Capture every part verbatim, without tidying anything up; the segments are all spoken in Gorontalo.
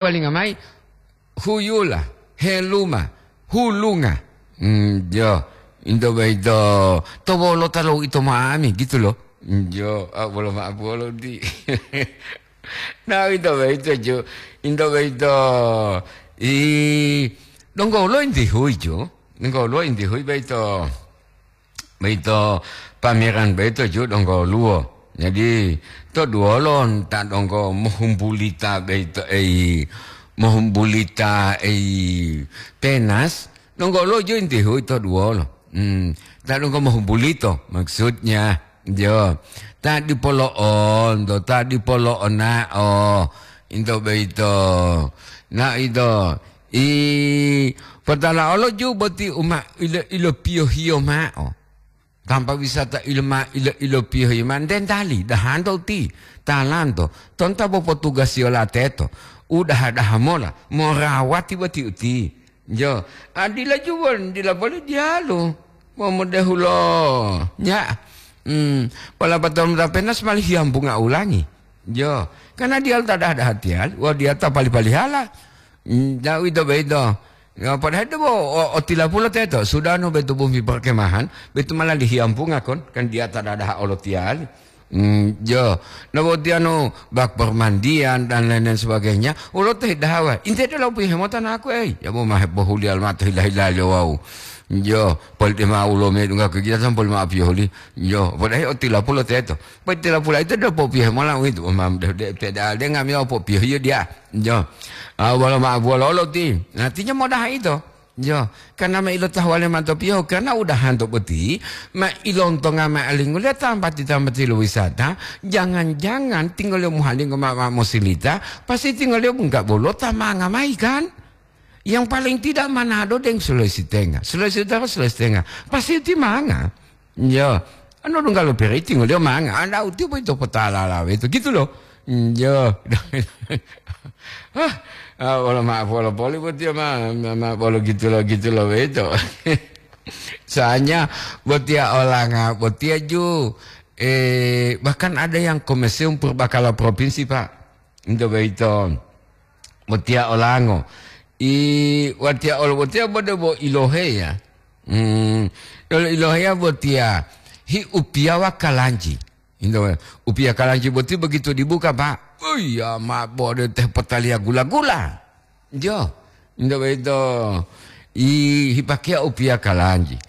Walinga mayi, huyula, heluma, hulunga. Mm, jo, into boyito, to wolota lo ito ma'ami, gitu lo. Mm, jo, ah, bolo ma'apu wolo di. Nah, into boyito, jo. Into boyito, i, donggo lo inti hui, jo. Donggo lo inti hui boyito. Boyito pameran boyito ju donggo luwo. Jadi, to duwolo ta donggo mohumbulita boyito, ei, mohumbulita, ei, penas, donggo luwo ju inti hui to duwolo. Hmm, ta donggo mohumbulito, maksudnya, jo. Ta dipolo'onto, ta dipolo'ona'o, into boyito. Na ito, I, potalaolo ju boti u ma ilo, ilopiyohiyo ma'o. Tanpa wisata ilo ma ilo, ilopiyohiyo ma'o, ntentali dahanto uti, talanto, tonta bo potugasiyo lateto, u daha-daha mola, morawati boti uti. Jo, adila ju won dila boli diyalu, momudehulo, nya, mm, wala patonu tapenas mali hiyambunga ulangi. Jo, karena diyalu ta daha-daha tiyali, wawu diyalu ta pali-palihala. Mm, ja uwito boyito. Ya, padahal debo o, o tilapulo teto, sudah no betu bumi perkemahan, betu malah dihiyampunga kon, kan dia ta dadaha olotiyali. Mm, jo, no botiya no bak permandian dan lain-lain sebagainya, ulo teh dahawa. Inte de lo pihe mota naku, ei, ya bo mahe pohuli almato hila-hila le wau. Jo, poli de ma ulo me dunga kegiatan poli ma apiyo huli. Jo, padahal o tilapulo teto. Poli tilapulo ito de popihe mola uwito, mam de, de, de, de, de ngami o popiyo hiyo dia. Jo. Ah, wolo ma, wolo lo ti. Artinya modaha ito. Jo. Karena ma ilo tahuwale ma to piyo, karena udahanto boti, ma ilontonga ma alingguliyo tambati-tambati lo wisata, jangan-jangan tingoliyo muhalinggo ma, ma mosilita, pasti tingoliyo bungka bolota manga mayi kan? Yang paling tidak Manado deng Sulawesi Tengah. Sulawesi Utara, Sulawesi Tengah. Pasti ti manga. Yo, anu dungga lo periti ngoliyo manga, anda uti boyito potala lawe itu, gitu loh. Yo. Ah, ah, wolo maaf, wolo poli botiya ma, ma, ma, wolo gitu lo, gitu lo weto. Soalnya botiya olanga, botiya ju, eh, bahkan ada yang ke Museum Purbakala Provinsi, Pak. Itu boyito. Botiya olango. I, watiya olo botiya bode bo iloheya. Hmm, olo iloheya botiya hi upiyawa kalanji. Indo, upiya kalanji boti begitu dibuka, Pak. Oh iya, ma bode teh potaliya gula-gula. Jo, indo boyito. I, hipakeya upiya kalanji.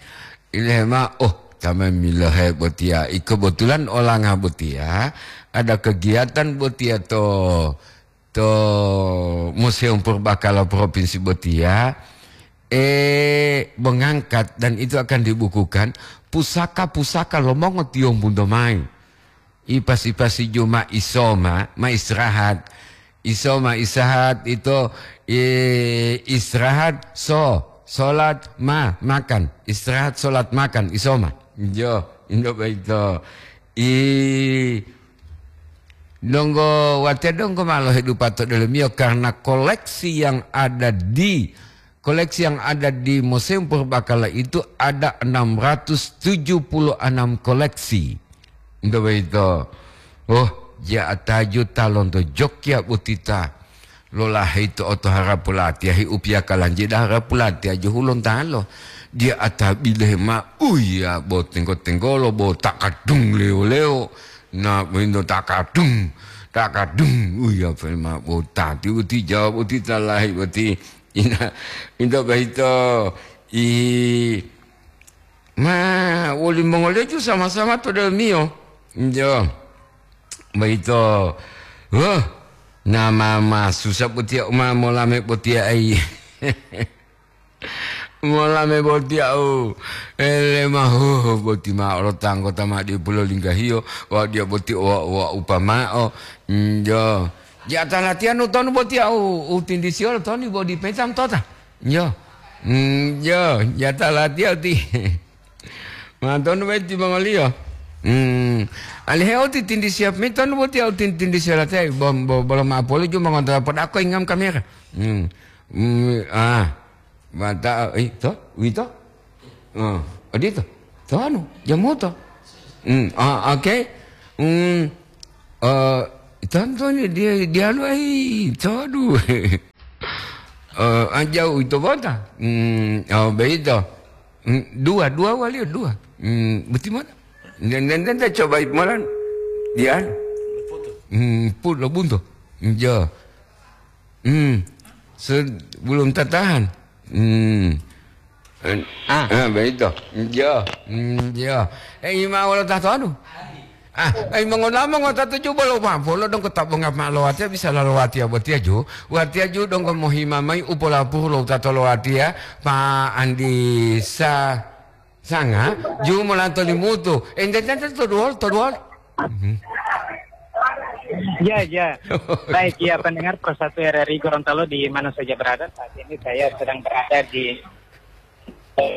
Ilema, oh, ta memilohe botiya. I kebetulan olanga botiya, ada kegiatan botiya to to Museum Purbakala Provinsi botiya, eh, mengangkat dan itu akan dibukukan pusaka-pusaka lo mongotiyombunto mayi. Ipas-ipasi ju ma isoma, ma istirahat. Isoma istirahat ito, eh, istirahat so, solat ma, makan. Istirahat, solat, makan, isoma. Jo, indo boyito. I, donggo watiya donggo ma lohedupa to delomiyo karena koleksi yang ada di, koleksi yang ada di Museum Purbakala itu ada enam ratus tujuh puluh enam koleksi. Indo boyito. Oh, ja ataju ta lonto Jogja botita. Lolaheyi to oto harapu latiya hi upiya kalanji da harapu latiya jo hulontalo. Dia ata bilehe ma, uya bo tenggo-tenggolo, bo takadung lewo-lewo. Na, bo indo takadung, takadung. Uya pe ma bo tati uti jawab uti talahi uti. Ina, indo boyito, i, ma, wolimongoliyo ju sama-sama to delomiyo. Jo. Boyito, huh, nama ma susa botiya uma molame botiya ai. Molame botiya u, ele ma, huh, boti ma olo ta anggota ma dipulo linggahiyo, wa dia boti wa, wa upamao. Jo. Jata latiya nu tonu botiya u, u tindisiyo lo tonu bo di peta mtota. Jo. Mm, jo, jata latiya uti. Mantonu boti timongoliyo. Hmm, alihe u titindi siap mi tonu boti u tin-, tindi siap latiya, bom, bo-, bolo ma'o poli ju mongonto podako ingam kamera. Hmm. Hmm, ah. Mata, eh, to, wito? Oh, odito. Tonu, jamuto. Hmm, ah, oke. Hmm, eh, Tantu ni dia, dia lu ai, codu. Eh, anjau itu bota. Hmm, oh, beito. Hmm, dua, dua wali dua. Hmm, beti mana? Dan, dan, dan, dan coba imalan. Dia. Hmm, put lo buntu. Jo. Hmm. Se-, belum tertahan. Hmm. Eh, Ah. ah, beito. Jo. Hmm, jo. Eh, ima wala tahto anu. Ah, ai, mongonamo ngota tuju bolo pampolo donggo ta bonga ma lo watiya bisa lalo watiya botiya ju. Watiya ju donggo mohima mayi u polapuru lo tato lo watiya, Pa Andi Sa-, Sanga, ju molanto limutu. Ente tante to duwol, to duwol. Mhm. Ya, ya. Baik, ya, pendengar Pro satu R R I Gorontalo di mana saja berada, saat ini saya sedang berada di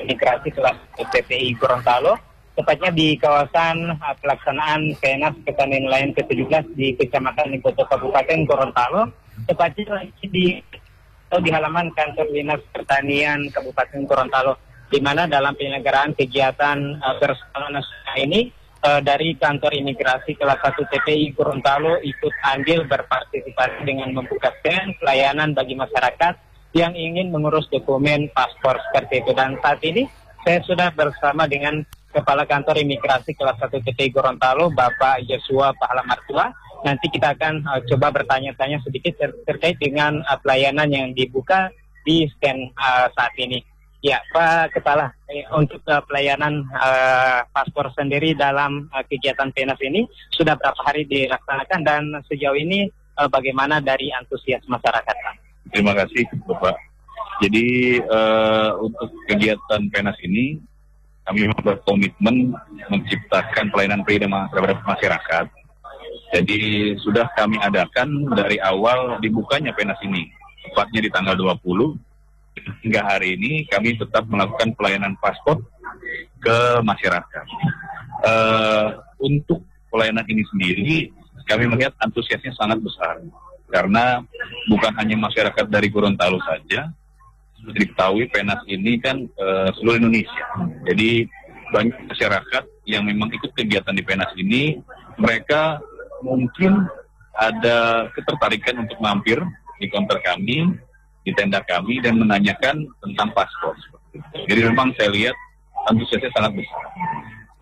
Migrasi kelas T P I Gorontalo, tepatnya di kawasan, eh, pelaksanaan Penas Petani Nelayan ke tujuh belas di Kecamatan Limboto, Kabupaten Gorontalo, tepatnya lagi di, atau di halaman kantor Dinas Pertanian Kabupaten Gorontalo, di mana dalam penyelenggaraan kegiatan, eh, berskala nasional ini, eh, dari kantor imigrasi kelas satu T P I Gorontalo ikut andil berpartisipasi dengan membuka stand pelayanan bagi masyarakat yang ingin mengurus dokumen paspor seperti itu. Dan saat ini saya sudah bersama dengan Kepala Kantor Imigrasi Kelas satu T P I Gorontalo, Bapak Yosua Pahala Martua. Nanti kita akan, eh, coba bertanya-tanya sedikit ter-, terkait dengan, eh, pelayanan yang dibuka di stand, eh, saat ini. Ya, Pak Kepala, eh, untuk, eh, pelayanan, eh, paspor sendiri dalam, eh, kegiatan Penas ini sudah berapa hari dilaksanakan dan sejauh ini, eh, bagaimana dari antusias masyarakat, Pak? Terima kasih, Bapak. Jadi, eh, untuk kegiatan Penas ini, kami memang berkomitmen menciptakan pelayanan pribadi ma-, terhadap masyarakat. Jadi, sudah kami adakan dari awal dibukanya Penas ini, tepatnya di tanggal dua puluh, hingga hari ini kami tetap melakukan pelayanan paspor ke masyarakat. Eh, untuk pelayanan ini sendiri, kami melihat antusiasnya sangat besar, karena bukan hanya masyarakat dari Gorontalo saja, seperti diketahui, Penas ini kan, eh, seluruh Indonesia. Jadi, banyak masyarakat yang memang ikut kegiatan di Penas ini, mereka mungkin ada ketertarikan untuk mampir di konter kami, di tenda kami, dan menanyakan tentang paspor. Jadi, memang saya lihat antusiasnya sangat besar.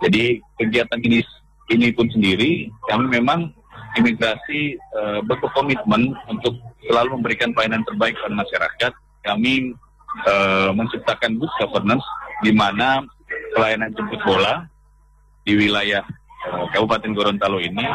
Jadi, kegiatan ini, ini pun sendiri, kami memang imigrasi, eh, berkomitmen untuk selalu memberikan pelayanan terbaik kepada masyarakat. Kami, eh, menciptakan good governance, di mana pelayanan jemput bola di wilayah, eh, Kabupaten Gorontalo ini,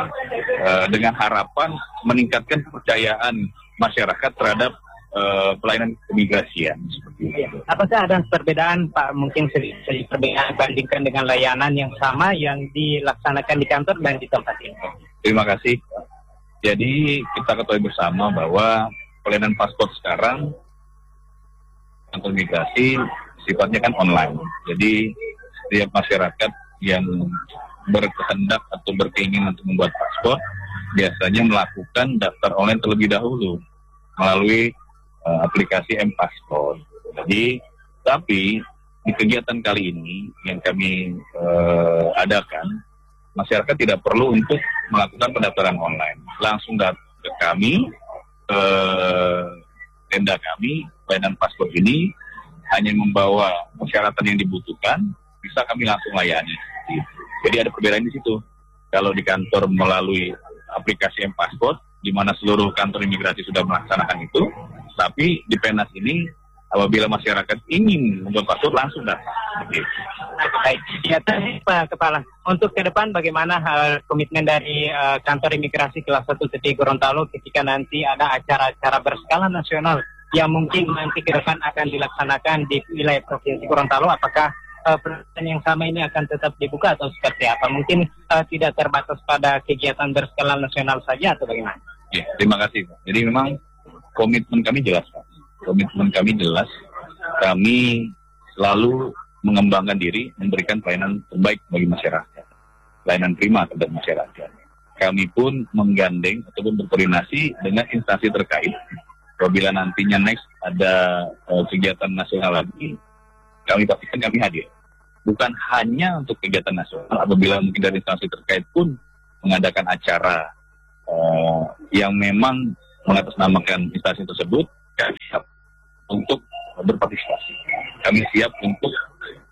eh, dengan harapan meningkatkan kepercayaan masyarakat terhadap, eh, pelayanan keimigrasian, seperti itu. Apakah ada perbedaan, Pak, mungkin sedikit perbedaan bandingkan dengan layanan yang sama yang dilaksanakan di kantor dan di tempat ini? Terima kasih. Jadi, kita ketahui bersama bahwa pelayanan paspor sekarang, kantor migrasi, sifatnya kan online. Jadi, setiap masyarakat yang berkehendak atau berkeinginan untuk membuat paspor, biasanya melakukan daftar online terlebih dahulu melalui, eh, aplikasi M-Paspor. Jadi, tapi di kegiatan kali ini yang kami, eh, adakan, masyarakat tidak perlu untuk melakukan pendaftaran online. Langsung datang ke kami, ke tenda kami, pelayanan paspor ini hanya membawa persyaratan yang dibutuhkan, bisa kami langsung layani. Jadi, ada perbedaan di situ. Kalau di kantor melalui aplikasi M-Paspor, di mana seluruh kantor imigrasi sudah melaksanakan itu, tapi di Penas ini, apabila masyarakat ingin membuat paspor, langsung datang. Begitu. Baik, ya, tadi, Pak Kepala, untuk ke depan bagaimana, eh, komitmen dari, eh, kantor imigrasi kelas satu T P I Gorontalo ketika nanti ada acara-acara berskala nasional yang mungkin nanti ke depan akan dilaksanakan di wilayah Provinsi Gorontalo? Apakah, eh, peraturan yang sama ini akan tetap dibuka atau seperti apa? Mungkin, eh, tidak terbatas pada kegiatan berskala nasional saja atau bagaimana? Ya, terima kasih, Pak. Jadi, memang komitmen kami jelas, Pak. Komitmen kami jelas. Kami selalu mengembangkan diri, memberikan pelayanan terbaik bagi masyarakat, pelayanan prima terhadap masyarakat. Kami pun menggandeng ataupun berkoordinasi dengan instansi terkait. Apabila nantinya next ada, eh, kegiatan nasional lagi, kami pastikan kami hadir. Bukan hanya untuk kegiatan nasional, apabila mungkin dari instansi terkait pun mengadakan acara, eh, yang memang mengatasnamakan instansi tersebut, kami siap untuk berpartisipasi. Kami siap untuk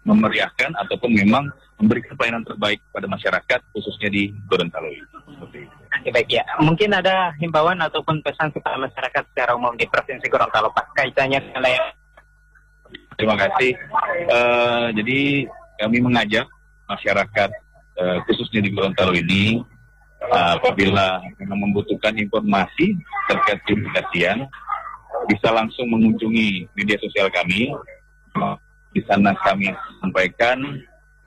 memeriahkan ataupun memang memberikan pelayanan terbaik pada masyarakat, khususnya di Gorontalo ini. Seperti itu. Oke, baik ya. Mungkin ada himbauan ataupun pesan kepada masyarakat secara umum di Provinsi Gorontalo, Pak, kaitannya dengan layanan. Terima kasih. Eh, jadi kami mengajak masyarakat, eh, khususnya di Gorontalo ini, eh, apabila memang membutuhkan informasi terkait publikasian, bisa langsung mengunjungi media sosial kami. Di sana kami sampaikan,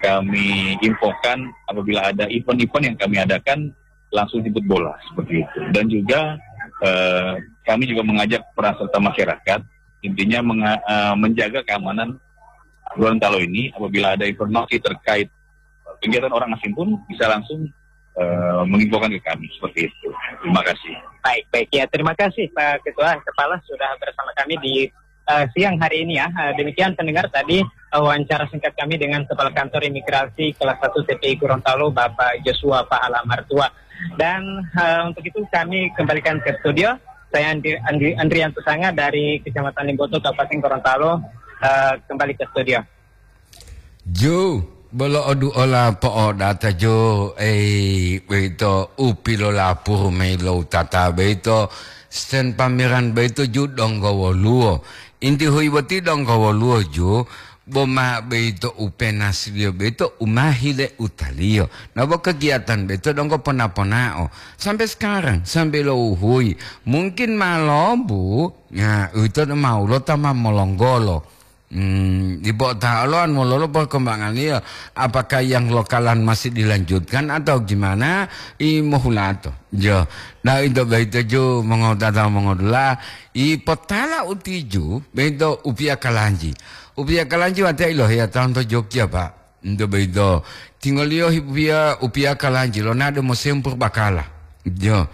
kami infokan apabila ada event-event yang kami adakan, langsung jemput bola seperti itu. Dan juga, eh, kami juga mengajak peran serta masyarakat, intinya menga- eh, menjaga keamanan Gorontalo ini. Apabila ada informasi terkait kegiatan orang asing pun bisa langsung, eh, menginfokan ke kami seperti itu. Terima kasih. Baik, baik ya. Terima kasih Pak Ketua Kepala sudah bersama kami di eh, siang hari ini ya. Eh, demikian pendengar tadi, eh, wawancara singkat kami dengan Kepala Kantor Imigrasi Kelas satu T P I Gorontalo, Bapak Joshua Pahala Martua. Dan, eh, untuk itu kami kembalikan ke studio. Saya Andri, Andri, Andrian Tusanga dari Kecamatan Limboto, Kabupaten Gorontalo, eh, kembali ke studio. Ju, bolo oduola po'odata ju, ei, boyito u pilolapuru mayi lo utata boyito, stand pameran boyito ju donggo woluwo. Inti huyi boti donggo woluwo ju, boma boyito u penasiliyo boyito u ma hile utaliyo. Nabo kegiatan boyito donggo pona-ponao. Sampai sekarang, sampai lo uhuyi. Mungkin ma lobu, ya, uwito ma ulo ta ma molonggolo. Hmm, dipo ta oloan mololo perkembangannya, apakah yang lokalan masih dilanjutkan atau gimana? I mohulato. Jo. Nah, itu baik ju mongotata mongodula, i potala utiju, bento upia kalanji. Upia kalanji wate ilohiya tahun to Jogja, Pak. Nto boyito, tingoliyo hipiya upiya kalanji lonado mosempur bakala. Jo.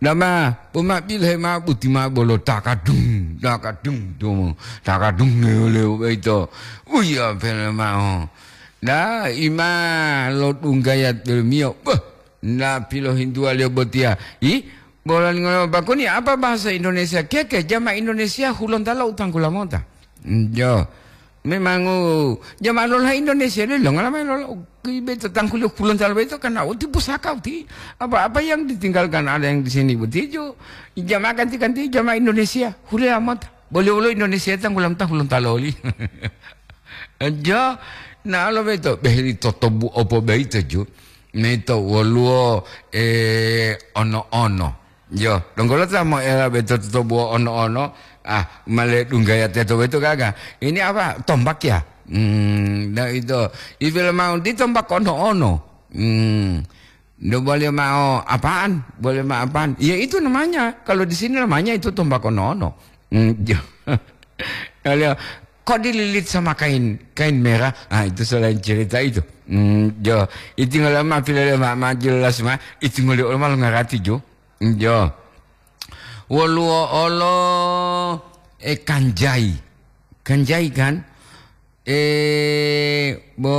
Dama, poma bilohe ma buti ma bolo takadung, takadung, tumu, takadung lewo-lewo boyito. Uya pele mao. Da, ima lo dunggaya tolomiyo. Beh, na pilohintuwa liyo botiya. Ih, bola lingolo bakuni apa bahasa Indonesia? Keke, jama Indonesia hulontalo utanggula mota. Jo. Memangu jama lolohe Indonesia lilo, ngalama lolo kibe to tangkuli pulon talo beto karena uti pusaka uti. Apa-apa yang ditinggalkan ada yang di sini betutu. Jama ganti-ganti jama Indonesia, hulia mota. Boleh-boleh Indonesia tanggulam tahulon taloli. Jo, na lo beto, behri totobu opo beito ju. Meto woluwo, eh, ono-ono. Yo, donggo lo ta moela beto totobuwo ono-ono, ah, male dunggaya teto beto gaga. Ini apa? Tombak ya? Hmm, nah itu. Ipil mau di tombak ono-ono. Hmm. Ndak boleh mau apaan? Boleh mau apaan? Ya itu namanya. Kalau di sini namanya itu tombak ono-ono. Hmm, yo. Kalau kok dililit sama kain, kain merah? Ah, itu selain cerita itu. Hmm, yo. Itu ngalama pilih ma, ma jelas ma. Itu ngolio ma lo ngarati jo. Jo. Woluwo olo, e, kanjai. Kanjai kan? E, bo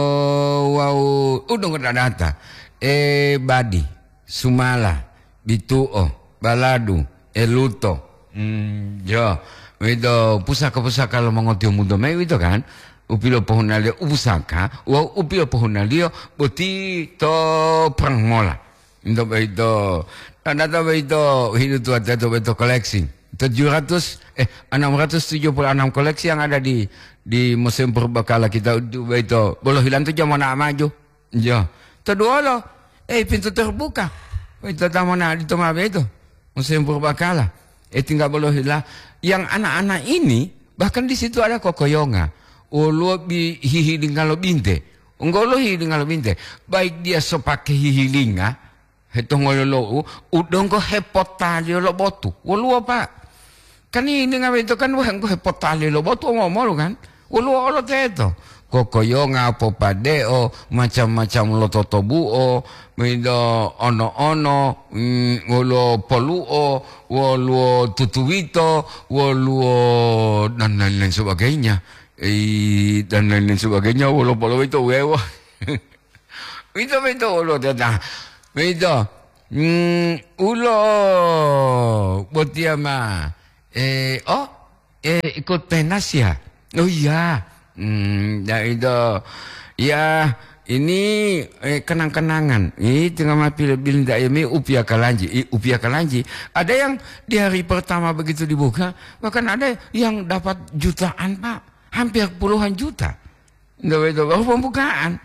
wau udong dadata. E, badi, sumala, bituo, baladu, e, luto. Hmm, jo. Wedo pusaka-pusaka lo mongotio mudo mai wito kan? Upilo pohunaliyo upusaka, wau upilo pohunaliyo boti to perang mola. Nto boyito, tandata boyito hidutuwa teto boyito koleksi. Tujuh ratus, eh, enam ratus tujuh puluh enam koleksi yang ada di, di Museum Purbakala kita itu boyito. Bolo hilantu jamona maju. Jo. Toduolo, eh, pintu terbuka. Boyito tamona di toma boyito. Museum Purbakala. Eh, tinggal bolo hila. Yang anak-anak ini, bahkan di situ ada kokoyonga. Olo bi hihilinga lo binte. Enggolo hihilinga lo binte. Baik dia so pakai hihilinga, hetongololo'u, u donggo hepotaliyo lo botu. Woluwo, Pak. Kan ini ngawe itu kan wah, engko hepotaliyo lo botu omo-omolu kan. Woluwo olo teto. Kokoyonga, popade'o, macam-macam lo totobu'o, mido ono-ono, mm, woluwo polu'o, woluwo tutuwito, woluwo dan lain-lain sebagainya. Eh, dan lain-lain sebagainya, woluwo poluwito wewa. Uwito boyito woluwo tata. Boyito, Hmm, ulo botiya ma, eh, oh, eh, ikut pentas ya? Oh iya. Hmm, ya itu. Ya, ini, eh, kenang-kenangan. Ini tengah ma pil-, bilinta ya, mi upia kalanji, i-, upia kalanji. Ada yang di hari pertama begitu dibuka, bahkan ada yang dapat jutaan, Pak. Hampir puluhan juta. Nggak betul, baru pembukaan.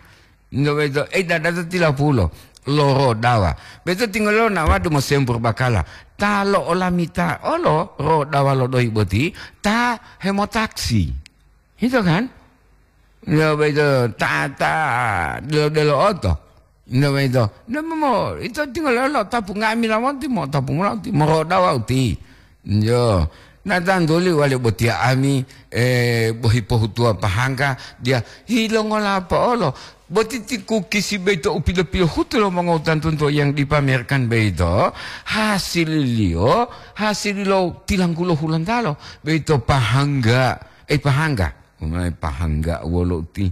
Nggak betul, eh, dada tu tila pulo. Loro dawa. Betul tinggal lo nawa du mosempur bakala. Ta lo olamita olo ro dawa lo doi boti, ta hemotaksi. Itu kan? Nggak betul, ta, ta, delo, delo oto. Nggak betul. Nggak mau, itu tinggal lo tapu ngami lawan ti, mau tapu mula ti, mau ro dawa uti. Yo, na tantuli wale botiya ami, eh, bohi pohutuwa pahangga, dia hilongola po'olo. Boti ti kukisi boyito u pilo-pilohutu lo mongowutantunto yang dipamerkan boyito, hasililiyo, hasililo tilanggulo hulantalo, boyito pahangga, eh, pahangga. Umai pahangga wolo uti.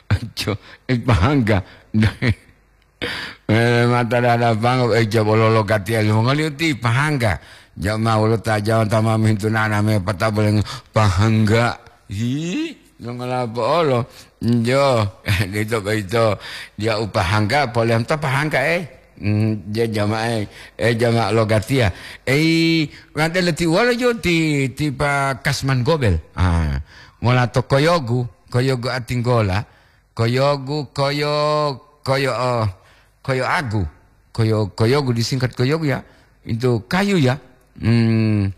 Ajo, eh, pahangga. Eh, mata dada pango, eh, jabo lolo gatiya limongoliyo ti pahangga. Jama wolo ta Jawa ta ma mintu nana me pata boleng pahangga. Hi, nongolapo olo. Njo, dito boyito. Dia u pahangga, polem ta pahangga, eh. Hmm, dia jama, eh. Eh, jama lo gatiya. Eh, wante leti wolo jo ti, ti pa Kasman Gobel. Ah, mola to koyogu, koyogu atinggola. Koyogu, koyo, koyo, oh, koyo agu. Koyo, koyogu disingkat koyogu ya. Itu kayu ya. Hmm,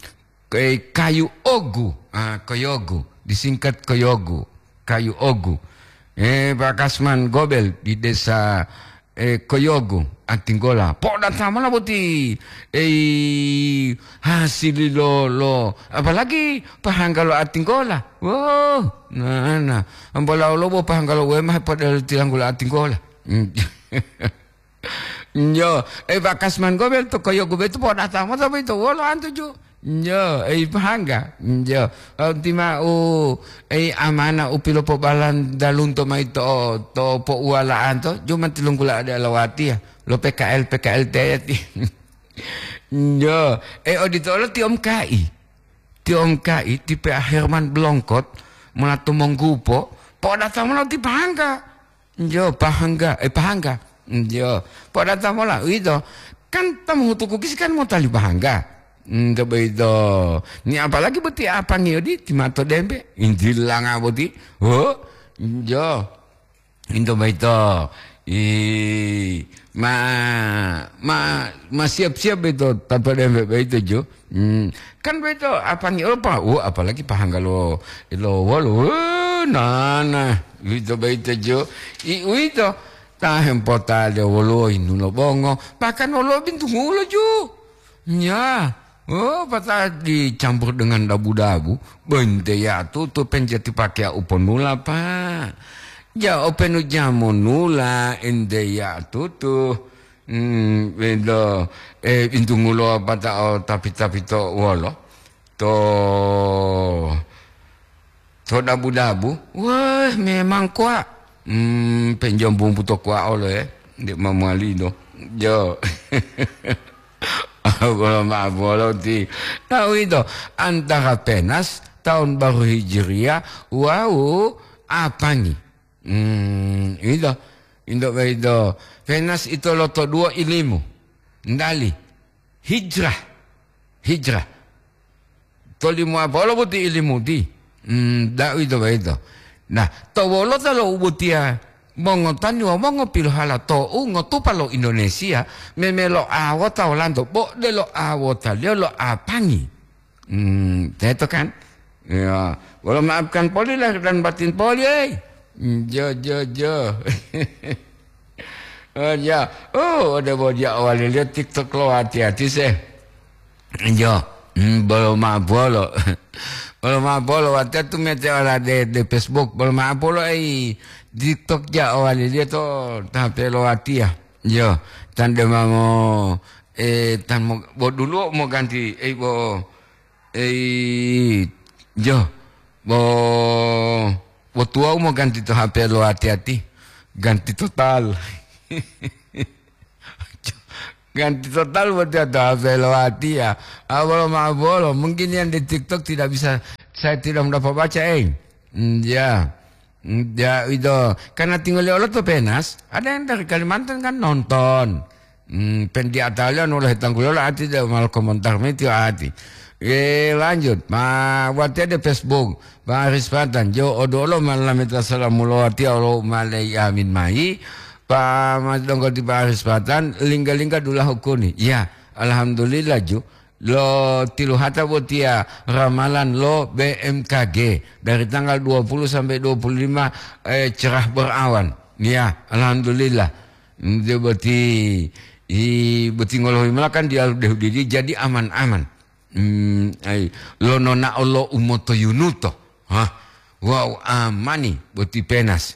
eh, kayu ogu. Ah, koyogu. Disingkat koyogu. Kayu ogu. Eh, Pak Kasman Gobel di desa, eh, Koyogu, Antinggola. Po'odata mola boti. Eh, hasili lo, lo. Apalagi pahangga lo Antinggola. Wow, nah, nah. Ambola olo bo pahangga lo wema pada tilanggula Antinggola. Hmm. Njo, eh, Pak Kasman Gobel to Koyogu betu po'odata mota boyito wolo antu ju. Njo, eh, pahangga. Njo, eh, tima u, eh, amana u pilopobalan dalunto mayi to, to pouwala'anto, ju ma tilunggula ade alawatiya, lo P K L, P K L T ti. Njo, eh, odito olo ti Om Kai. Ti Om Kai, ti P A Herman Blongkot, mona to Monggupo, po'odata mola ti pahangga. Njo, pahangga, eh, pahangga. Njo, po'odata mola, uwito. Kan ta mohutu kukisi kan motali pahangga. Nto boyito. Ni apalagi boti apangi odi, ti mato dembe, intilanga boti. Ho, njo. Into boyito. I, ma, ma, ma siap-siap boyito, tato dembe boyito, jo. Hmm, kan boyito apangi opa, wo, apalagi pahangga lo, lo wolo, wo, nana, uwito boyito jo. I, uwito, ta hempota de wolo inu lo bongo, bahkan wolo bintungulo ju. Nya, oh, pata dicampur dengan dabu-dabu, bente ya tutu penjati pakai uponula, Pak. Ja, openu jamonula, ente ya tutu. Hmm, bedo, eh, bintungulo pata o tapi-tapi to wolo. To, to dabu-dabu. Wah, memang kuwa. Hmm, penjom bumbu to kuwa olo, eh. Ndik mamuali do. Jo. Bolo ma bolo ti. Tahu itu antara penas tahun baru Hijriah, wau apangi. Hmm, itu. Indo itu. Penas itu loto duo ilimu. Ndali. Hijrah. Hijrah. Tolimo apa olo boti ilimuti? Hmm, da'u ito boyito. Nah, to wolota lo ubotiya mongotani wawu mongopilohala to'u ngotupa lo Indonesia, memelo awota wolanto, bo delo awotaliyo lo apangi. Hmm, teto kan? Ya, wolo maafkan poli lahir dan batin poli, eh. Jo, jo, jo. Oh, ja. Oh, ode bo dia awaliliyo TikTok lo hati-hati se. Jo. Hmm, bolo ma'o bolo. Bolo ma'o bolo, watiya tumete ola de, de Facebook. Bolo ma'o bolo, ei, TikTok ja awaliliyo to tape lo watiya. Jo. Tan de mamo, eh, tan mo, bo duluwo moganti, ei, bo, ei, jo. Bo, bo tuwawu moganti to H P lo hati-hati. Ganti total. Ganti total buat dia to H P lo watiya. Ah, bolo ma bolo. Mungkin yang di TikTok tidak bisa, saya tidak mendapat baca, eh. Hmm, ya. Hmm, ya, itu. Karena tinggal di Olo to Penas, ada yang dari Kalimantan kan nonton. Hmm, pen di Atalian oleh tanggulola ati de mal komentar meti ati. Eh, lanjut. Ma, watiya de Facebook. Pak Aris Patan, jo odo olo malameta salamulo watiya olo malei amin mai. Pa Mas Donggo ti Pak Aris Patan, lingga-lingga dula hukuni. Ya, alhamdulillah ju. Lo tiluhata botiya ramalan lo B M K G dari tanggal dua puluh sampai dua puluh lima, eh, cerah berawan. Ya, alhamdulillah. Dia boti, i, boti ngolohi melakan dia dehu didi jadi aman-aman. Hmm, ai, lo nonao lo umotoyunuto. Hah? Wow, amani boti Penas.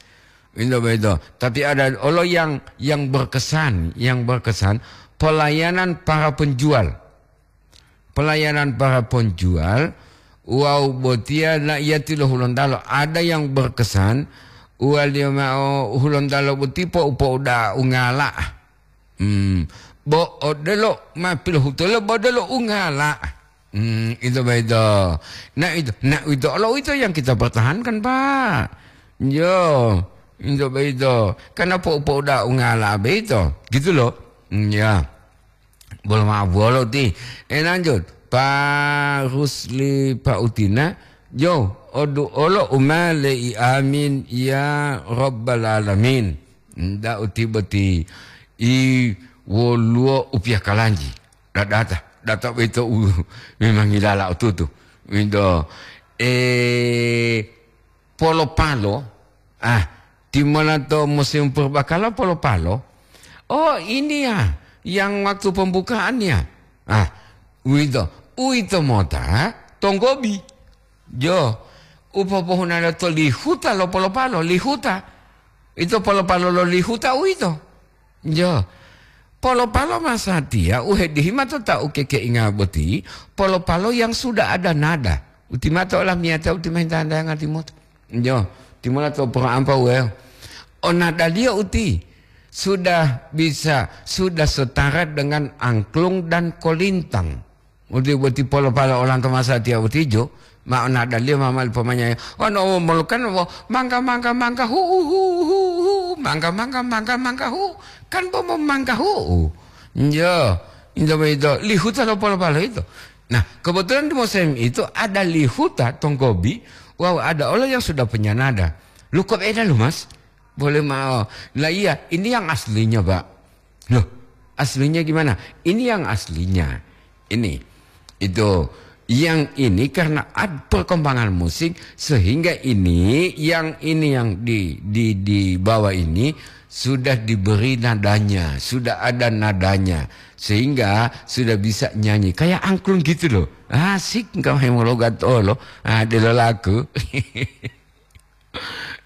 Itu begitu. Tapi ada olo yang, yang berkesan, yang berkesan pelayanan para penjual. Pelayanan para penjual, wow, botiya na iya tilo Hulontalo. Ada yang berkesan, uwaliyo mao Hulontalo boti po upo uda ungala. Hmm. Bo odelo ma pilohutulo bo odelo ungala. Hmm, itu begitu. Nah itu, nah itu, kalau itu yang kita pertahankan, Pak. Yo, itu begitu. Karena po po udah ungala begitu. Gitu loh. Hmm, ya. Bolo ma bolo ti. Eh, lanjut. Pak Rusli Pak Utina. Yo, odu olo umale i amin ya Rabbal Alamin. Nda uti boti i woluwo upiah kalanji. Dadata, data boyito u memang yilala otutu. Winto, eh, polo-palo, ah, timola to musim purbakala polo-palo. Oh, ini ya, yang waktu pembukaan ya. Ah, winto, uwito mota tonggobi. Jo, upopohunalo to lihuta lo polo-palo, lihuta. Ito polo-palo lo lihuta uwito. Jo. Polo-palo masatiya u hedihi matota'a u kekeinga boti, polo-palo yang sudah ada nada. Uti mato olamiyatiya uti mahintanda ngati moto. Jo, timola to poro ampa uweo. O nadaliyo uti sudah bisa, sudah setara dengan angklung dan kolintang. Uti boti polo-palo olanto masatiya utijo, ma nadaliyo ma mali pomanyaya. Wano molukan wo mangga, mangga, mangga, hu'u, hu'u, hu'u, hu'u, mangga, mangga, mangga, mangga, hu'u. Kan bo mo mangga hu'u. Njo, injo boyito, lihuta lo polo-palo ito. Nah, kebetulan di musim itu ada lihuta tonggobi, wow, ada olo yang sudah punya nada. Lu kok beda lu, Mas? Boleh mao. Lah iya, ini yang aslinya, Pak. Loh, aslinya gimana? Ini yang aslinya. Ini, itu, yang ini karena ad-, perkembangan musik sehingga ini, yang ini yang di, di, di bawah ini sudah diberi nadanya, sudah ada nadanya, sehingga sudah bisa nyanyi kayak angklung gitu loh. Asik, engkau hemologat olo, ah, delo laku.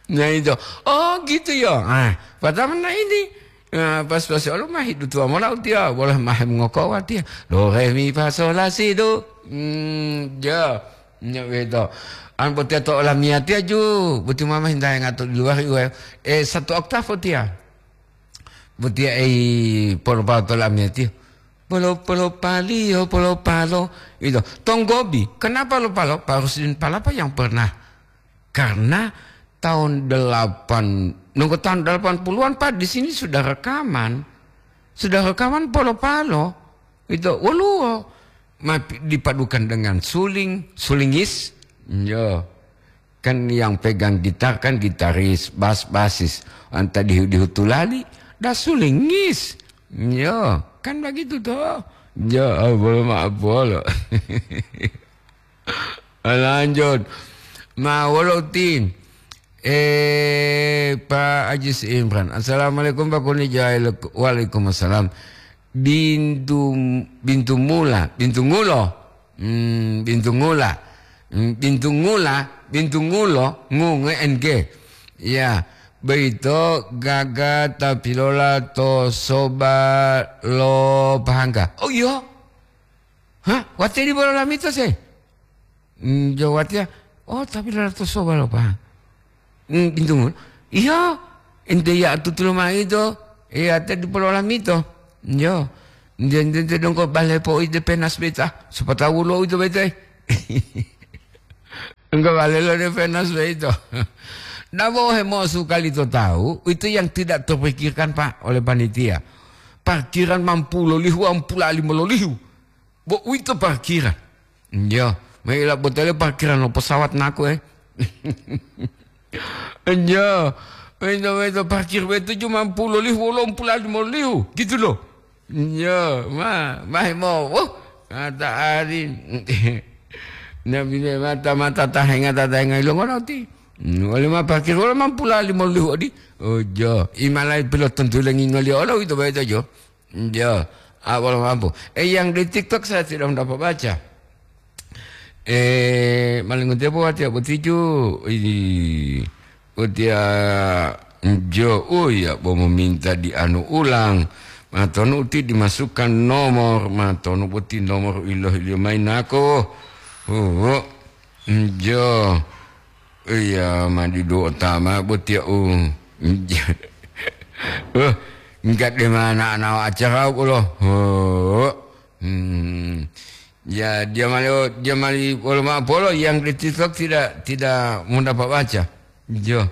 Nah, itu. Oh, gitu ya. Ah, pertama nah ini. Nah, pas-pas Allah mah hidup tua mola utia, boleh mah mengokowa tia. Do, re, mi, fa, sol, la, si, do. Hmm, ya. Nya beto. An botia to olamiyatiya ju, boti mama hinta ngato di luar iwe. Eh, satu oktav botia. Botia ei polo-palo to olamiyatiya. Polo-polo paliyo, polo-palo. Itu. Tonggobi. Kenapa lo palo? Pak Rusdin Palapa yang pernah. Karena tahun delapan, nunggu tahun delapan puluhan, Pak, di sini sudah rekaman. Sudah rekaman polo-palo. Itu woluwo. Ma-, dipadukan dengan suling, sulingis. Yo. Kan yang pegang gitar kan gitaris, bas, basis. Anta dihu-dihu tulali, da sulingis. Yo, kan begitu toh. Ya, bolo ma bolo. Lanjut. Ma wolo uti. Eh, Pak Ajis Imran. Assalamualaikum, Pak Kuni Jail. Waalaikumsalam. Bintu, bintu mula, bintu ngulo. Hmm, bintu ngula. Hmm, bintu ngula, bintu ngulo, ngu, nge, N G. Ya, beito gaga tapilola to soba lo pahangga. Oh, iya. Hah? Wate di bolo lamito se? Hmm, jo watiya. Oh, tapi lalato soba lo pa. Hmm, pintu ngun. Iya, ente ya tutulo ma ito. Iya, te dipolo lamito. Yo. Nde, nde, nde, donggo bale po ide penas beta. Siapa tahu lo itu beta. Enggak bale lo de penas beta. Dabo hemosu kali to tahu, itu yang tidak terpikirkan, Pak, oleh panitia. Parkiran mampu lolihu, ampula lima lolihu. Bo uwito parkiran. Iya, maila botele parkiran lo pesawat naku, eh. Iya, maila, maila parkir betu cuma puluh lihu, wolo puluh lima lihu, gitu loh. Iya, ma, ma mo, oh, kata ari. Nabi ne mata, mata tahenga, tahenga ilongo roti. Wali ma parkir, wala ma puluh lima lihu odi. Oh, jo, imalai pilot tentu lengi ngoli olo itu bae jo. Iya, awal mampu. Eh, yang di TikTok saya tidak mendapat baca. Eh, malingu tepo watia botiju. Ini, watia jo, oh ya, bo meminta di anu ulang. Matonu uti dimasukkan nomor, matonu boti nomor iloh ilio main nako. Oh, jo. Iya, madidu otama botia u. Oh, enggak de mana ana acara ulo. Oh. Hmm. Ya, dia mali, dia mali polo ma polo yang di TikTok tidak, tidak mendapat baca. Jo.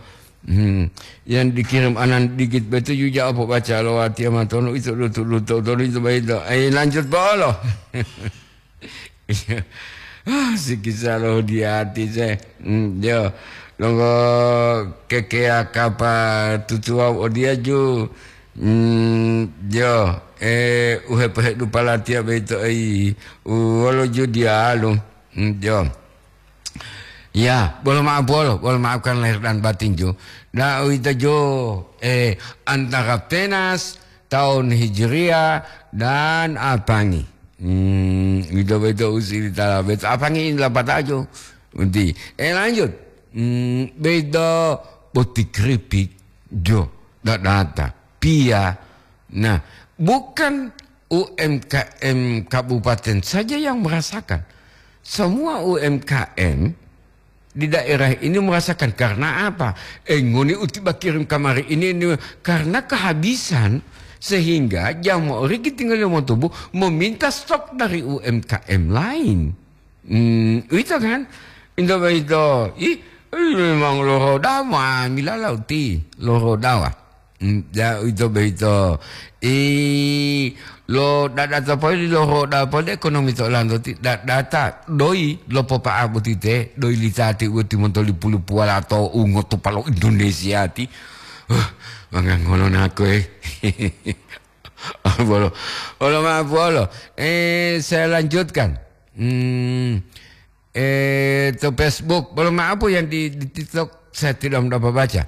Hmm. Yang dikirim anan dikit betul juga apa baca lo watia matono itu lutu lutu itu baik. Eh, lanjut polo. Ah, sikisa lo di ati se. Hmm, jo. Longo kekea kapa tutuwa odia ju. Hmm, jo. Eh, uhepe dupalatia beito ei. Uwolo ju dialu. Hmm, jo. Ya, bolo maaf bolo, bolo maafkan lahir dan batin ju. Da uwito ju, eh, antara penas tahun Hijriah dan apangi. Hmm, beto-beto usili tala beto apangi ini lapataju. Uti. Eh, lanjut. Hmm, beto boti keripik jo dadata. Pia. Nah, bukan U M K M kabupaten saja yang merasakan. Semua U M K M di daerah ini merasakan. Karena apa? Eh, ngoni uti bakirim kamari ini, ini karena kehabisan, sehingga jamaah riki tinggal yang mau tubuh meminta stok dari U M K M lain. Hmm, itu kan? Itu, itu. Ih, ih, memang loro dawa, milala uti, loro dawa. Mm, ya, uwito boyito. I lo dadata poli lo roda poli ekonomi to olanto ti dadata doyi lo popa'a boti te, doyi litati uwoti monto lipu-lipuwala to ungoto palo Indonesia ti. Huh, mangangolo nako, eh. Bolo, bolo maaf, bolo. Eh, saya lanjutkan. Hmm, eh, to Facebook, bolo maaf yang di, di TikTok saya tidak mendapat baca.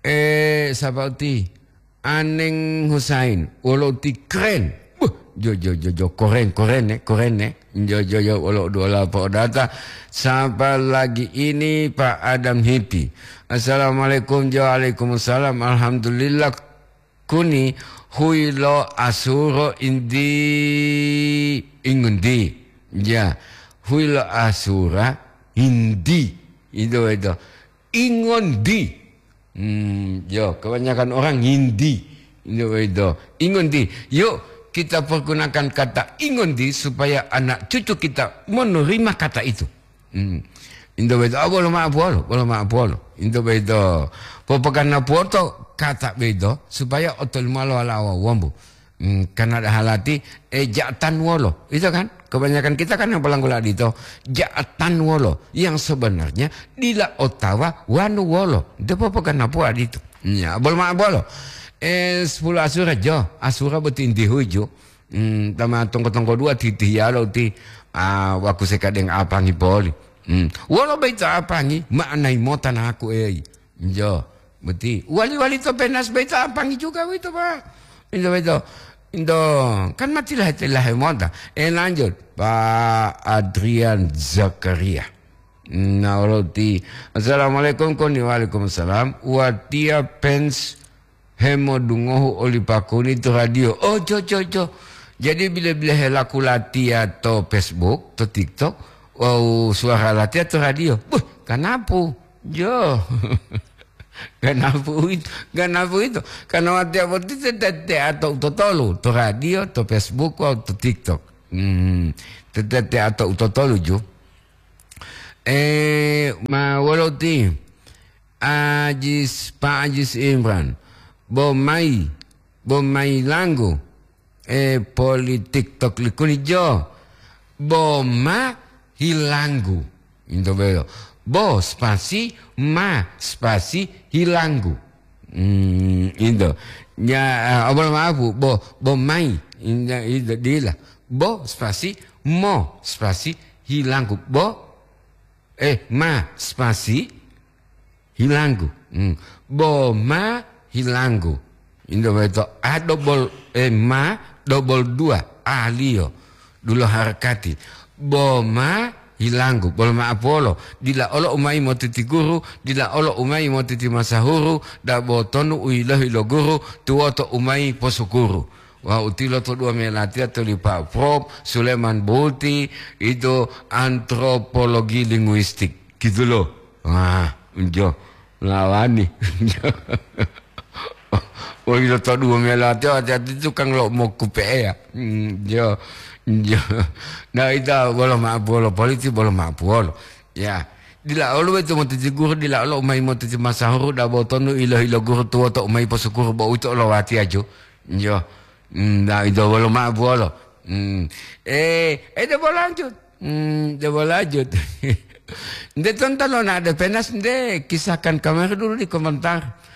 Eh, siapa uti? Aneng Husain, wolo uti keren. Buh, jo, jo, jo, jo, koren, koren, eh, koren, eh. Jo, jo, jo, wolo dua lapo data. Siapa lagi ini, Pak Adam Hipi? Assalamualaikum, jo, waalaikumsalam. Alhamdulillah, kuni huyi lo asuro indi ingundi. Ya, huyi lo asura indi. Itu, itu. Ingondi. Hmm, yo, kebanyakan orang ngindi. Yo, itu. Ingondi. Yuk, kita pergunakan kata ingondi supaya anak cucu kita menerima kata itu. Hmm. Into boyito, ah, bolo ma'o puwolo, bolo ma'o puwolo. Into boyito, popoganapuwoto kata boyito, supaya otolimalo wala'a wawu wombu. Hmm, karena ada halati, eh, ja'atan wolo. Itu kan? Kebanyakan kita kan yang pelanggu ladi itu, ja'atan wolo. Yang sebenarnya dila otawa wanu wolo. Itu popoganapuwa ditu. Ya, bolo ma'o puwolo. Eh, sepuluh asura, jo. Asura boti inti huju. Hmm, tama tongko-tongko dua titihiyalo ti, ah, waku sekadeng apangi poli. Hmm. Wolo boyito apangi, ma'anayi mota naku eyi. Jo, boti. Wali-wali to penas boyito apangi juga boyito, Pak. Into boyito. Into, kan matilahe-tilahe mota. Eh, lanjut. Pak Adrian Zakaria. Nah, wolo ti. Assalamualaikum, koni. Waalaikumsalam. Watiya fans hemodungohu oli pakuni to radio. Oh, jo, jo, jo. Jadi, bila-bila helaku latiya to Facebook, to TikTok, wawu suwara latiya to radio. Buh, kanapu. Jo. Ganapu uwito, ganapu uwito. Karena watiya boti te-, te-, tete'a to utotolu, to radio, to Facebook, wawu to TikTok. Hmm, te-, tete'a to utotolu ju. Eh, ma wolo ti? Ajis, Pa Ajis Imran. Bo mayi, bo mayi langgu. Eh, poli TikTok likuni jo. Bo ma hilanggu. Into belo. Bo spasi ma spasi hilanggu. Hmm, into. Ya, eh, abal maafu, bo, bo mai. Inda, inda, dila. Bo spasi mo spasi hilanggu. Bo, eh, ma spasi hilanggu. Hmm. Bo ma hilanggu. Indo beto a double, eh, ma double dua, aliyo. Dulo harakati. Bo ma hilanggu. Bolo ma apolo. Dila olo umai motiti guru, dila olo umai motiti masahuru, da bo tonu uyilohi lo guru, tuwoto umai posukuru. Wa utilo to dua melatiya to lipa Prof Suleman Buti, itu antropologi linguistik. Gitu loh. Wah, unjo. Lawani. Woi, lo to dua melatiya, hati-hati tukang lo mokupe'eya. Hmm, jo, jo. Nah, ita bolo ma'apuwolo polisi, bolo ma'apuwolo. Ya, dila olo wetu motiti guru, dila olo umai motiti masahuru, dabo tonu ilo-ilo guru tuwoto umai posukuru, bo uwito olo watiya jo. Jo. Hmm, nah, ita bolo ma'apuwolo. Hmm. Eh, eh, dabo lanjut. Hmm, coba lanjut. Nde tonton lo nade penas nde, kisahkan kamari dulu di komentar.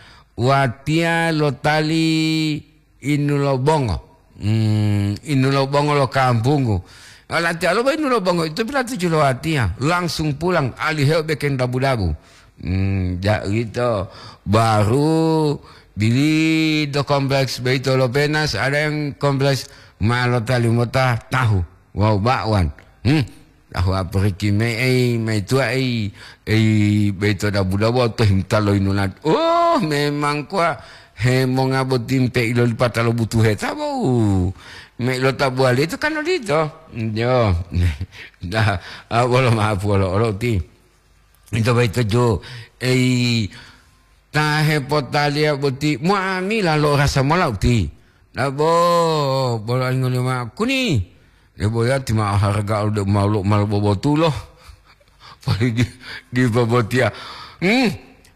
Watiya lotali inu lo bongo. Hmm, inu lo bongo lo kampunggu. Latiya lo inu lo bongo itu pilatuju lo watiya. Langsung pulang, aliheo bekeng dabu-dabu. Hmm, ja uwito. Baru bili do kompleks beito lo penas, ada yang kompleks ma lotali mota tahu. Wawu ba'wan. Hmm. Tahu aporiki me ei, mai tuwa ei, ei beito dabu-dabu to himta lo inunat. Oh, memang kuwa hemonga boti mpe ilolipata lo butuhe tabo'u. Me ilo tabuwali itu kan odito. Jo. Nah, ah, bolo ma'apuwolo olo ti. Ito boyito ju, ei, ta hepotaliya boti mu'amila lo rasa mola uti. Nabo, bolo angoliyo ma'o kuni. Debo yati ma'o haraga ode umalo, umalo bobotulo. Poli di, di bobotiya. Hmm,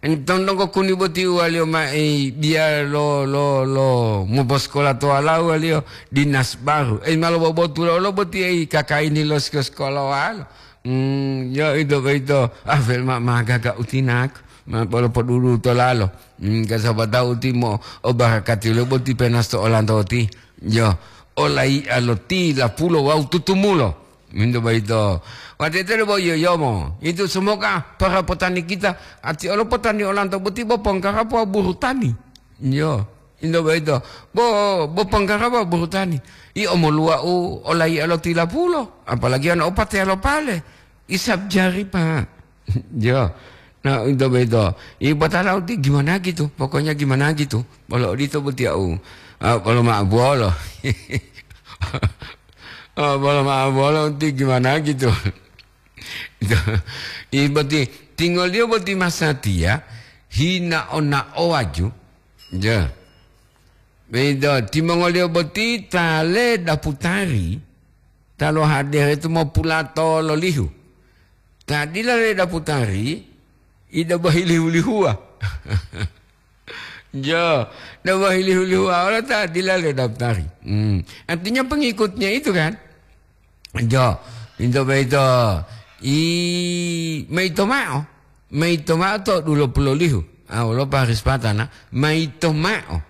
entong donggo kuni boti uwaliyo ma'i biya lo, lo, lo, moposkola to walawaliyo dinas baru. Ei, malo bobotulo lo boti ei kakaini lo siko-, sikola walo. Hmm, yo ito boyito, ah, fel ma-, magaga utinaku, ma polo podudu to lalo. Hmm, kasaba tahu timo o barakati lo boti penas to olanto ti. Yo, olai'a lo tilapulo wawu tutumulo. Minto boyito. Watete bo yoyomo. Itu semoga para petani kita, ati olo petani olanto boti bo pongkarapo buru tani. Yo. Indo boyito, bo, bo ponggaraba burutani. I omoluwa'u olaiya lo tilapulo, apalagi ana o pateya lo pale. Isab jari, Pak. Jo. Nah, indo boyito. I batala uti gimana gitu? Pokoknya gimana gitu. Bolo odito boti au. Ah, bolo ma'abuwolo. Ah, bolo ma'abuwolo uti gimana gitu. I boti, tingoliyo boti masatiya, hina ona owaju. Ja. Begitu, timongoliyo boti ta ledaputari, ta lohadere tu mopulato lolihu. Ta dila ledaputari, ida bohilihu-lihuwa. Jo, da bohilihu-lihuwa olo ta dila ledaputari. Hmm. Artinya pengikutnya itu kan. Jo, into boyito, i, maito ma'o, maito ma'o to dulo pulolihu. Ah, wolo Paris patana, maito ma'o.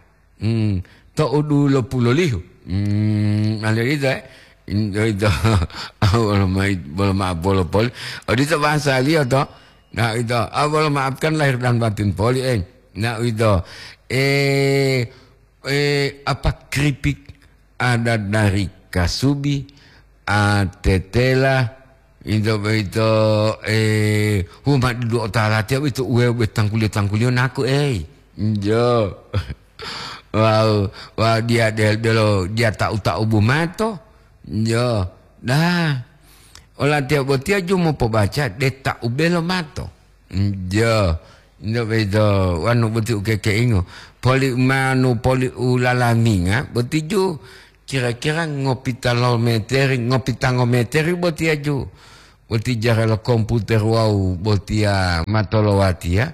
Hmm, to dulo pulolihu. Hmm, ale ito, eh. Into ito, ah, wolo mai-, wolo ma-, wolo poli. Odito bahasaliyo to. Nah, ito, ah, wolo maafkan lahir dan batin poli, eh. Nah, ito, eh, Eh, apa keripik ada dari kasubi, a, tetela, ito boyito, eh, huma dudu otalatiya boyito uwe, uwe tangkuliyo-tangkuliyo naku, ei. Jo. Wawu, wawu diya del-, delo diya ta'u-ta'ubu mato. Jo. Dah. Olatiya botiya ju mopobaca de ta'ubelo mato. Jo. Nde boyito wanu boti u kekeingo. Poli manu poli u lalaminga, boti ju kira-kira ngopita lo meteri, ngopita ngo meteri botiya ju. Boti jara lo komputer wawu botiya matolowatiya.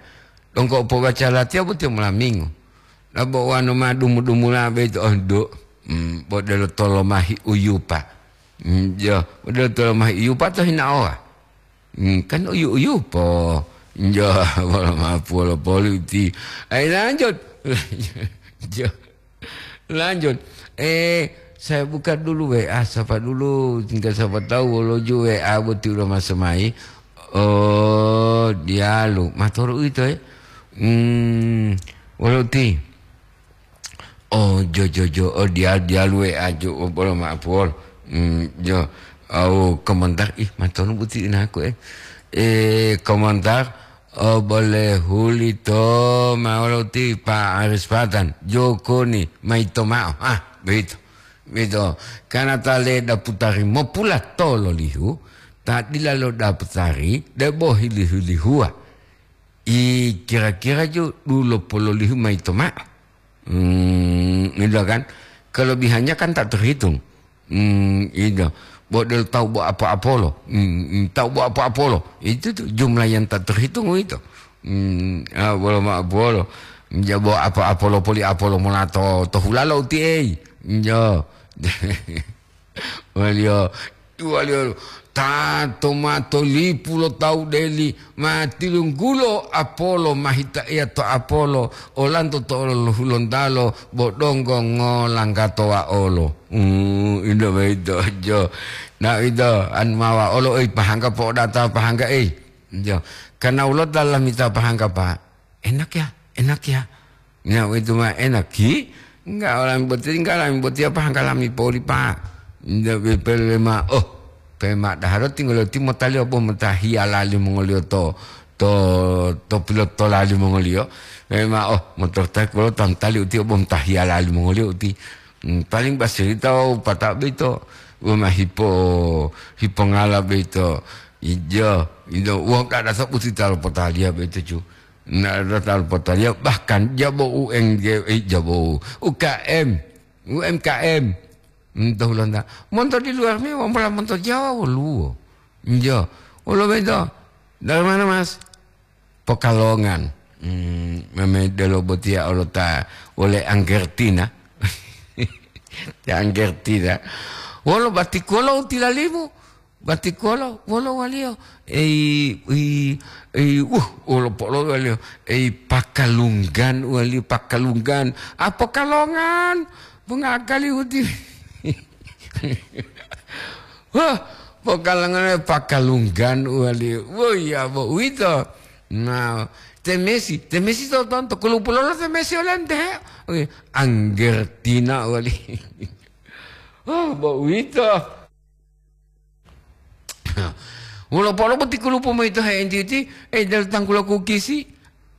Donggo u pobaca latiya botiya molamingo. Labo wanu ma dumu-dumula boyito, oh, do. Hmm, bo delo tolomahi uyupa. Hmm, jo, bo delo tolomahi uyupa to hinaowa. Hmm, kan uyu-uyu po. Jo, wolo mapu wolo poli uti. Ai, lanjut. Jo, lanjut. Eh, saya buka dulu W A, sapa dulu, tinggal siapa tahu wolo ju W A boti ulo masuk mai. Oh, dialu. Matoro uito, eh. Hmm, wolo uti. Oh, jo, jo, jo. Oh, dia, dia luwe aju, oh, bolo maaf, wol. Hmm, jo. Oh, komentar, ih, matonu buti inaku, eh. Eh, komentar, oh, boleh huli to, maolo ti Pak Aris Patan. Joko ni, maito mao. Ah, begitu. Begitu. Karena tale daputari mopula tolo lihu, tak dilalo daputari, debo hili-hili hua. I kira-kira ju dulo pololihu maito mao. Hmm, gitu kan. Kelebihannya kan tak terhitung. Hmm, itu. Bo del tahu bo apa-apolo. Hmm, hmm, tahu bo apa-apolo. Itu tuh jumlah yang tak terhitung itu. Hmm, ah, bolo ma apolo. Ja bo apa-apolo poli apolo molato to hulalo uti ei. Jo. Waliyo, waliyo, ta to mato lipu lo tawu deli, ma tilunggulo apolo, ma hita eya to apolo, olanto to olo lo Hulontalo, bo donggo ngolanggato waolo. Hmm, indo boyito, jo. Na ito, an mawa olo, ei, pahangga po'odata pahangga, ei. Jo. Karena ulo dalam mita pahangga, Pak. Enak ya, enak ya. Nah, itu mah enak, ki. Enggak, orang boti-, enggak, lami boti apa, enggak lami poli, Pak. Enggak, pe-, pele ma, oh, pe ma daharo tinggal ti motali obo motahia lali mongolio to, to, to pilot to lali mongolio. Pe ma, oh, motor tak kalau tantali uti obo motahia lali mongolio uti. Hmm, paling basirita wau pata beito. Wau ma hipo, hipo ngala beito. Ijo, ijo, wau kada sabuti talo potalia beito, cu. Na, datang potaliya, bahkan jabo U N G, eh, jabo U K M, U M K M. Hmm, to Hulanta. Monto di luar me, wambola monto Jawa woluwo. Njo. Wolo beto. Dari mana, Mas? Pekalongan. Hmm, meme delo botiya olota oleh Anggertina. Ya, Anggertina. Wolo batikolo tilalimu. Batikolo, wolo waliyo? Ei, ei, ei, uh, wolo polo waliyo? Ei, pakalunggan waliyo, pakalunggan. Ah, pokalongan, bunga akali uti. Wah, pokalongan, pakalunggan waliyo. Woi, ya, bo, uwito. Nah, temesi, temesi to tonto, kulupulolo temesi olente. Oke, Anggertina wali. Oh, bo, uwito. Wolo polo boti kulupu moyito he'entiti, eh, dari tangkula kukisi,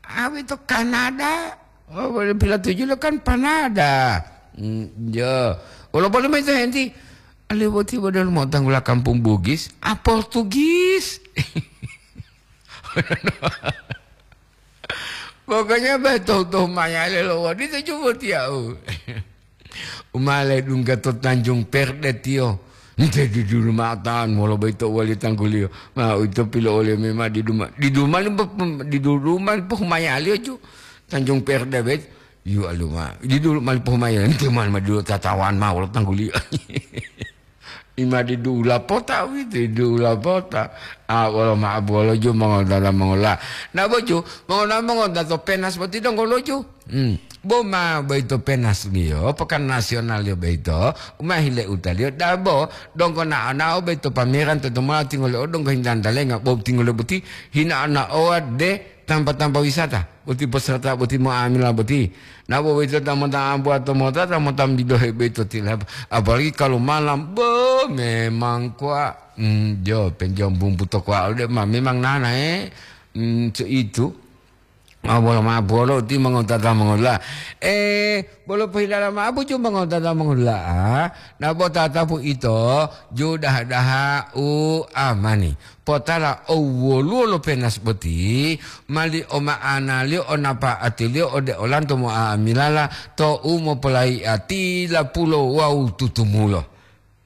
awe to Kanada. Oh, boleh pila tujuh lo kan Panada. Hmm, ya. Wolo polo moyito he'enti, ale boti bodol mo tanggula kampung Bugis, a Portugis. Pokoknya be tohu-tohu mayale lo wodito cubo tiyau. Umale dungga to Tanjung Perde tiyo. Nte didulu ma'o ta'an wolo boyito uwali tangguliyo. Ma uwito pilo'oliyo mema diduma-, diduma limpo-, diduma lipohumayaliyo ju. Tanjung Perde boyito. Yu aluma. Didulu mali pohumayaliyo. Nte mali ma didulu tatawaan ma'o wolo tangguliyo. Ima didu lapota uwito, didu lapota. Ah, wolo ma'o bolo ju mongontata mongola. Na boju, mongontata mongontata to Penas boti donggo loju. Hmm. Bo ma boyito Penas liyo, pekan nasional liyo boyito, uma hile utaliyo, dabo, donggo na'o-na'o boyito pameran to tomola tingole o donggo hintantalenga, bo tingole boti hina'o-na'owa de tampa-tampa wisata. Boti peserta boti mo'amila boti. Na bo boyito ta mota ambuwa to mota, ta mota bidohe boyito tilapa. Apalagi kalau malam, bo, memang kwa, hmm, jo, penjom bumbu to kwa, ode ma, memang nana, eh. Hmm, so itu. Ah, bolo ma'o bolo ti mongotata mongola. Eh, bolo pohilala ma'o bucu mongotata mongola. Na bo tatapu ito, ju daha-daha'u amani. Potala o woluwo lo penas boti, mali o ma'analiyo, o napa'atiliyo ode olanto mo'amilala, to'u mopolai'a tila pulo wawu tutumulo.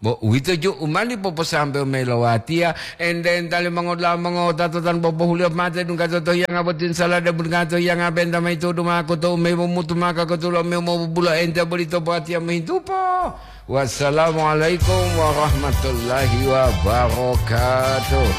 Bo uwito ju u mali poposambewo mayi lo watiya, ente-entali mongoda'a mongowutata tanu bobohuliyo mate dunggato to hiyanga boti, salade dunggato hiyanga benta mayi tudu mako to umeyi momutu maka kotulo mewu mobubulo ente bolito bo watiya mohintupo. Wassalamualaikum warahmatullahi wabarakatuh.